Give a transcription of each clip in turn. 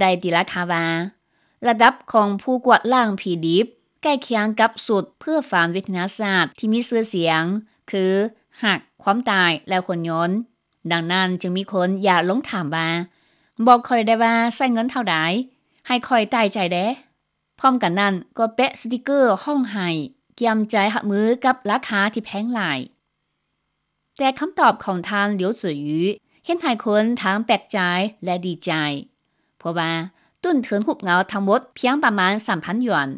ໄດ້ຕີລາຄາວ່າ ລະດັບຂອງຜູ້ກວາດລ້າງຜີດິບໃກ້ຄຽງກັບຊຸດເພື່ອຝັນວິທະຍາສາດທີ່ມີຊື່ສຽງ ຄືຮັກ, ຄວາມຕາຍ ແລະ ໂຫດຮ້າຍ. ດັ່ງນັ້ນຈຶ່ງມີຄົນຢາກລົງຖາມວ່າ ບອກຂ້ອຍໄດ້ວ່າໃຊ້ເງິນເທົ່າໃດ, ໃຫ້ຂ້ອຍຕາຍໃຈແດ່. ພ້ອມກັນນັ້ນກໍແປະສະຕິກເກີຮ້ອງໄຫ້, ກຽມໃຈຮັບມືກັບລາຄາທີ່ແພງຫຼາຍ. ແຕ່ຄຳຕອບຂອງທ່ານ Liu Ziyu ເຮັດໃຫ້ຄົນທັງແປກໃຈ ແລະ ດີໃຈ, ເພາະວ່າຕົ້ນທຶນຮູບເງົາທັງໝົດພຽງປະມານສາມພັນຢວນ,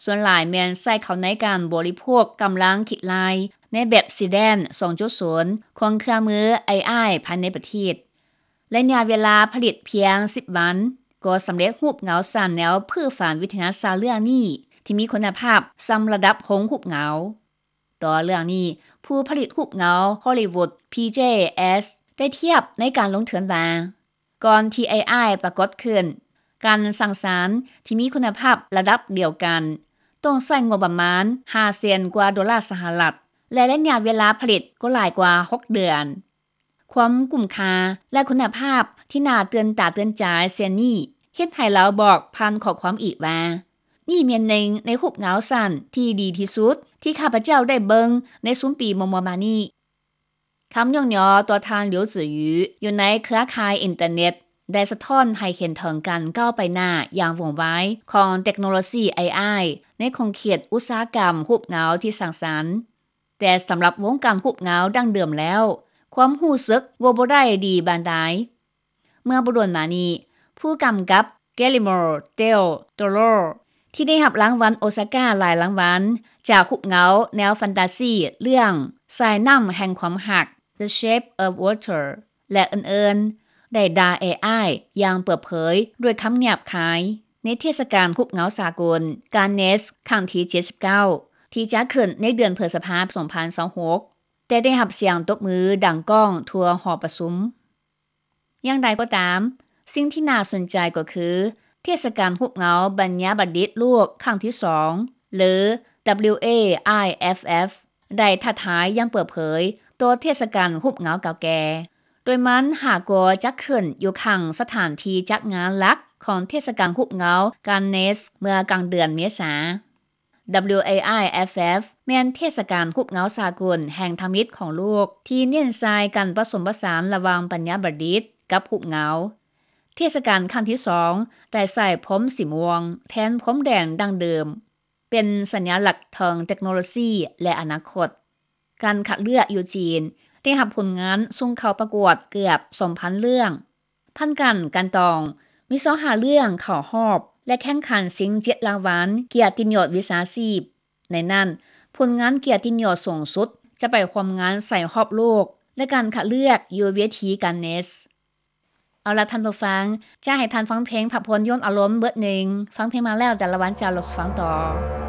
ສ່ວນຫຼາຍແມ່ນໃຊ້ເຂົ້າໃນການບໍລິໂພກກຳລັງຄິດໄລ່ໃນແບບ Seedance ສອງຈຸດສູນ ຂອງເຄື່ອງມື ເອໄອ ພາຍໃນປະເທດ. ໄລຍະເວລາຜະລິດພຽງສິບວັນ ກໍສຳເລັດຮູບເງົາສ້າງແນວເພື່ອຝັນວິທະຍາສາດເລື່ອງນີ້ ທີ່ມີຄຸນນະພາບສ່ຳລະດັບໂຮງຮູບເງົາ. ຕໍ່ເລື່ອງນີ້, ຜູ້ຜະລິດຮູບເງົາ Hollywood PJS ໄດ້ທຽບໃນການລົງທຶນວ່າ ກ່ອນທີ່ ເອໄອ ປາກົດຂຶ້ນ, ການສ້າງສານທີ່ມີຄຸນນະພາບລະດັບດຽວກັນ ຕ້ອງໃຊ້ງົບປະມານຫ້າແສນກວ່າໂດລາສະຫະລັດ ແລະ ໄລຍະເວລາຜະລິດກໍຫຼາຍກວ່າຫົກເດືອນ. ຄວາມກຸ້ມຄ່າ ແລະ ຄຸນນະພາບທີ່ໜ້າຕື່ນຕາຕື່ນໃຈເຊັ່ນນີ້ ເຮັດໃຫ້ລາວບອກຜ່ານຂໍ້ຄວາມອີກວ່າ ນີ້ແມ່ນໜຶ່ງໃນຮູບເງົາສ້າງທີ່ດີທີ່ສຸດທີ່ຂ້າພະເຈົ້າໄດ້ເບິ່ງໃນຊຸມປີມົວໆມານີ້. ຄຳຍ້ອງຍໍຕໍ່ທ່ານ Liu Ziyu ຢູ່ໃນເຄືອຂ່າຍອິນເຕີເນັດ ໄດ້ສະທ້ອນໃຫ້ເຫັນເຖິງການກ້າວໄປໜ້າຢ່າງວ່ອງໄວຂອງເຕັກໂນໂລຊີ ເອໄອ ໃນຂົງເຂດອຸດສາຫະກຳຮູບເງົາທີ່ສ້າງສັນ. ແຕ່ສຳລັບວົງການຮູບເງົາດັ້ງເດີມແລ້ວ, ຄວາມຮູ້ສຶກວ່າບໍ່ໄດ້ດີປານໃດ. ເມື່ອບໍ່ດົນມານີ້, ຜູ້ກຳກັບ Guillermo del Toro ທີ່ໄດ້ຮັບລາງວັນໂອສາກາຫຼາຍລາງວັນ ຈາກຮູບເງົາແນວແຟນຕາຊີເລື່ອງສາຍນ້ຳແຫ່ງຄວາມຮັກ The Shape of Water ແລະ ອື່ນໆ ໄດ້ດ່າ ເອໄອ ຢ່າງເປີດເຜີຍດ້ວຍຄຳຫຍາບຄາຍ ໃນເທດສະການຮູບເງົາສາກົນ Cannes ຄັ້ງທີເຈັດສິບເກົ້າ ທີ່ຈັດຂຶ້ນໃນເດືອນພຶດສະພາ ສອງພັນຊາວຫົກ ແຕ່ໄດ້ຮັບສຽງຕົບມືດັງກ້ອງທົ່ວຫໍປະຊຸມ. ຢ່າງໃດກໍຕາມ, ສິ່ງທີ່ໜ້າສົນໃຈກໍຄື ເທດສະການຮູບເງົາບັນຍາບັນດິດໂລກຄັ້ງທີສອງ ຫຼື WAIFF ໄດ້ທ້າທາຍຢ່າງເປີດເຜີຍຕໍ່ເທດສະການຮູບເງົາເກົ່າແກ່, ໂດຍມັນຫາກໍຈັດຂຶ້ນຢູ່ຂ້າງສະຖານທີ່ຈັດງານຫຼັກຂອງເທດສະການຮູບເງົາ Cannes ເມື່ອກາງເດືອນເມສາ. WAIFF ແມ່ນເທດສະການຮູບເງົາສາກົນແຫ່ງທຳອິດຂອງໂລກ ທີ່ເນັ້ນໃສ່ການປະສົມປະສານລະຫວ່າງບັນຍາບັນດິດກັບຮູບເງົາ. ເທດສະການຄັ້ງທີສອງໄດ້ໃຊ້ພົມສີມ່ວງແທນພົມແດງດັ້ງເດີມ, ເປັນສັນຍາລັກເຖິງເຕັກໂນໂລຊີ ແລະ ອະນາຄົດ. ການຄັດເລືອກຢູ່ຈີນໄດ້ຮັບຜົນງານສົ່ງເຂົ້າປະກວດເກືອບສອງພັນເລື່ອງ. ຜ່ານການກັ່ນຕອງ, ມີຊາວຫ້າເລື່ອງເຂົ້າຮອບ ແລະ ແຂ່ງຂັນຊິງເຈັດລາງວັນກຽດຕິຍົດວິຊາຊີບ. ໃນນັ້ນ, ຜົນງານກຽດຕິຍົດສູງສຸດຈະໄປຮ່ວມງານໃສ່ຮອບໂລກ ແລະ ການຄັດເລືອກຢູ່ເວທີ Cannes. ເອົາລະທ່ານຜູ້ຟັງ, ຈະໃຫ້ທ່ານຟັງເພງພັກຜ່ອນຢ່ອນອາລົມເບີດໜຶ່ງ. ຟັງເພງມາແລ້ວ, ແຕ່ລະວັນຈະລົດຟັງຕໍ່.